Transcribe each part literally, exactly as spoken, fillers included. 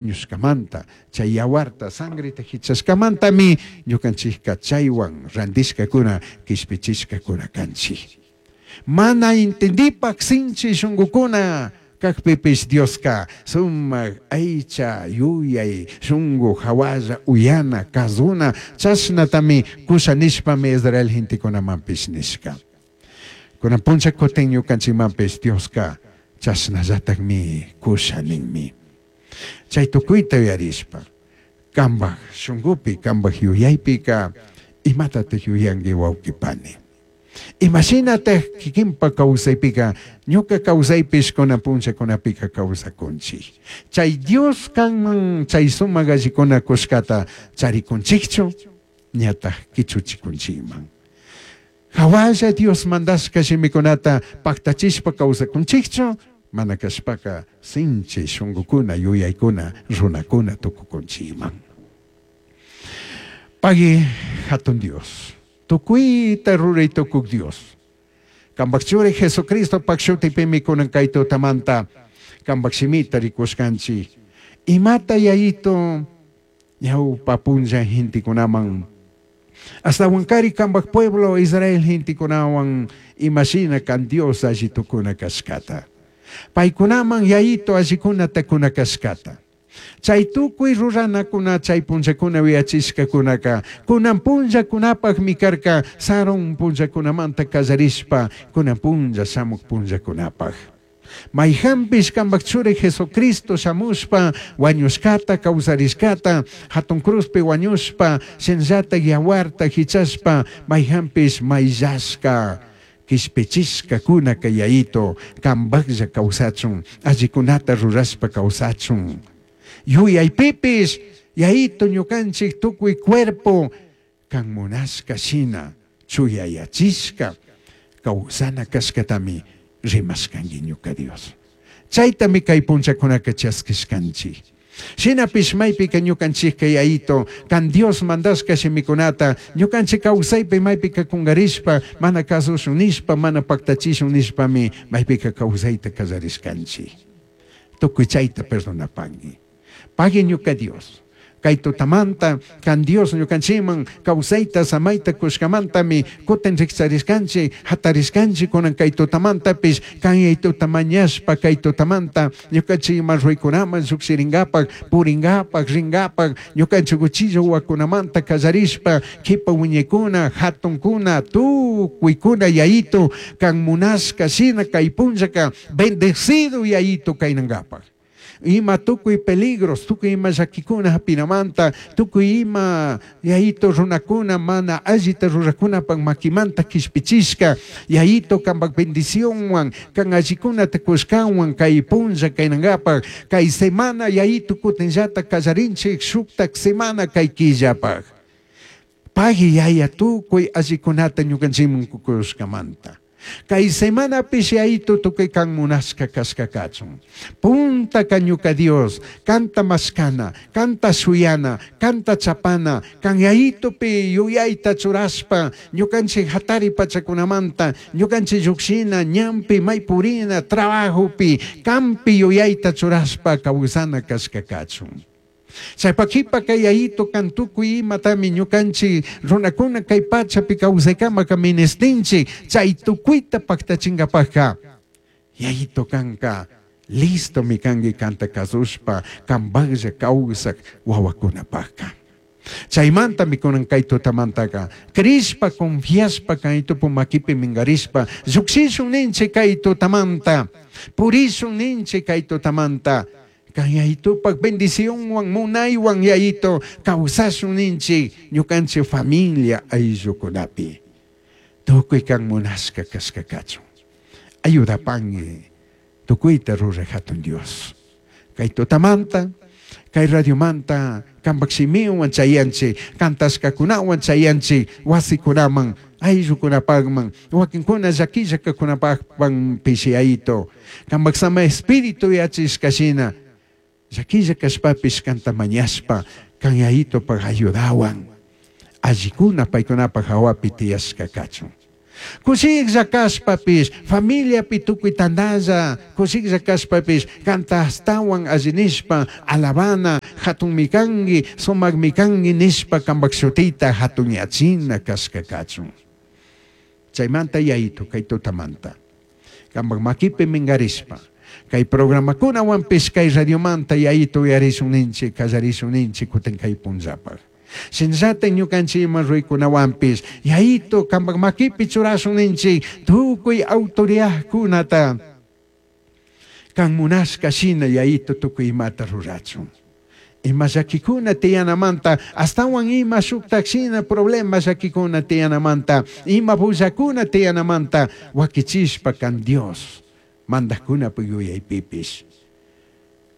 Ñushkamanta, chay yawarta, sangreta hichashkamantami ñukanchikka chaywan randishkakuna, kishpichishkakuna kanchik. Mana entendipak sinchi shungukuna kakpipish Dioska sumak aycha yuyay shungu hawalla uyana kazuna chashnatami kusha nishpami Israel gentekunamanpish nishka. Kunan puncha kutin ñukanchikmanpish Dioska chashnallatakmi kusha ninmi. Chay tukuyta yuyarishpa kambaj shungupi kambaj yuyaypika imatatak yuyanki wawqi pani. Imashinatak kikinpa kawsaypika ñuka kawsaypish kunan punchakunapika kawsakunchik. Chay Dios kanman chay sumak allikuna kushkata charikunchikchu ñatak kichuchikunchikman. Hawalla Dios mandashka shimikunata paktachishpa kawsakunchikchu mana kashpaka sinchi shungukuna yuyaykuna runakuna tukukunchikman. Pagui hatun Dios, tukuyta ruray tukuk Dios. Kambak churi Jesucristo pak shutipimi kunan kay tutamanta kambak shimita rikushkanchik. Imata yayito ñawpa punlla gentekunaman Ashtahuankari kambak pueblo Israel gentekunawan imashina kan Dios alli tukuna kashkata. Paykunaman yayito allikunata kuna kashkata. Chay tukuy ruranakuna chay punllakuna wiachishkakunaka kunan punllakunapakmi karka sarun punllakunamanta kallarishpa kunan punlla shamuk punllakunapak. Mayhanpish kambak churi Jesucristo shamushpa wañushkata kawsarishkata hatun cruzpi wañushpa shinllata yawarta hichashpa mayhanpish mayllashka kishpichishkakuna kay yayito kambaklla kawsachun allikunata rurashpa kawsachun. Yuyaypipish yayito ñukanchik tukuy cuerpo kan munashka shina chuyayachishka kawsana kashkatami rimashkanki ñuka Dios. Chaytami kay punchakunaka chaskishkanchik. Shinapish maypika ñukanchikka yayito kan Dios mandashka shimikunata ñukanchik kawsaypi maypika kungarishpa mana kasushun nishpa mana paktachishun nishpami maypika kawsayta kallarishkanchik. Tukuy chayta perdonapanki. Pagui ñuka Dios. Kay tutamanta kan Dios ñukanchikman kawsayta samayta kushkamantami kutin rikcharishkanchik hatarishkanchik kunan kay tutamantapish kan yaytuta mañashpa kay tutamanta ñukanchikman ruykunaman llukshirinkapak purinkapak rinkapak ñukanchik uchilla wawakunamanta kallarishpa kipa wiñaykuna hatunkuna tukuykuna yayito kan munashka shina kay punllaka bendecido yayito kaynankapak. Ima tukuy peligros, tukuy ima llakikuna hapinamanta, tukuy ima yayito runakuna mana allita rurakunapak makimanta kishpichishka, yayito kampak bendicionwan, kan allikunata kushkanwan kay punlla kaynankapak, kay semana yayito kutinllata kallarinchik shuktak semana kay killapak. Pagui yaya tukuy allikunata ñukanchikman kukushkamanta. Kay semanapish yayito tukuy kan munashka kashka kachun. Punta ka ñuka Dios, kanta mashkana, kanta shuyana, kanta chapana, kan yayitopi yuyayta churashpa, ñukanchik hatari pachakunamanta, ñukanchik llukshina, ñanpi, maypurina, trabajopi, kampi yuyayta churashpa kawsana kashka kachun. Chaypakipa kay yayito kan tukuy imatami ñukanchik runakuna kay pachapi kawsaykamaka ministinchik chay tukuyta paktachinkapakka yayito kanka listo mi kanki kanta kasushpa kampaklla kawsak wawakunapakka. Chaymantami kunan kay tutamantaka crishpa confiashpa kay tupu makipi mingarishpa llukshishun ninchik kay tutamanta purishun ninchik kay tutamanta kan yayitupak bendicionwan munaywan yayito kawsashun ninchik ñukanchik familia ayllukunapi tukuy kan munashka kashka kachun. Ayudapanki tukuyta ruraj hatun Dios. Kay tutamanta kay radiomanta kampak shimiwan chayanchik kantashkakunawan chayanchik wasikunaman ayllukunapakman wakinkuna llakillakakunapakman pishiyayito kampak sama espíritu yachishkashina llakilla kashpapish kanta mañashpa kan yayitopak ayudawan allikuna paykunapak hawapi tiyashka kachun. Kushiklla kashpapish, familiapi tukuy tandalla, kushiklla kashpapish, kanta ashtawan alli nishpa, alabana, hatunmi kanki, sumakmi kanki nishpa kanpak shutita hatunyachina kashka kachun. Chaymanta Yayitu kay tutamanta. Kanpak makipi minkarishpa, kay programakunawanpish kay radiomanta Yayitu uyarishun ninchik, kallarishun ninchik kutin kay punllapak. Shinallata ñukanchik ima ruykunawanpish Yayitu kanpak makipi churashun ninchik tukuy autoridadkunata kan munashka shina Yayitu tukuy imata rurachun. Ima llakikuna tiyanamanta astawan ima shuktak shina problema llakikuna tiyanamanta ima bullakuna tiyanamanta wakichishpa kan Dios mandajkunapak yuyaypipish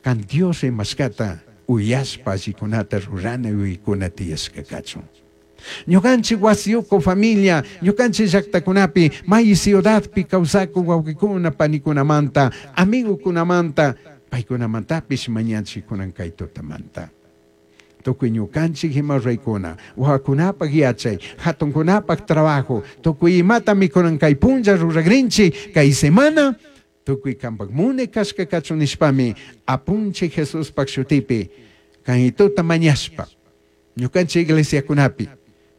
kan Dios imashkata uyashpa allikunata rurana yuyaykuna tiyashka kachun. Ñukanchik wasiyuku familia, ñukanchik llaktakunapi, may ciudadpi kawsakuk wawqikuna panikunamanta, amigukunamanta, paykunamantapish mañanchik kunan kay tutamanta. Tukuy ñukanchik ima ruraykuna, wawakunapak yachay, hatunkunapak trabajo, tukuy imatami kunan kay punlla ruragrinchik, kay semana, tukuy kanpak mune kashka kachun nishpami, apunchik Jesuspak shutipi, kayituta mañashpa, ñukanchik iglesiakunapi,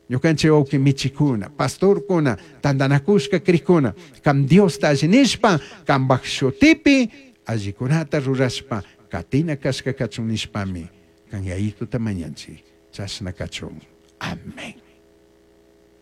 ñukanchik wawqi michikuna, pastorkuna, tandanakushka krikuna, kan Diosta alli nishpa, kanpak shutipi, allikunata rurashpa, katina kashka kachun nishpami, kan Yayituta mañanchik, chashna kachun. Amén.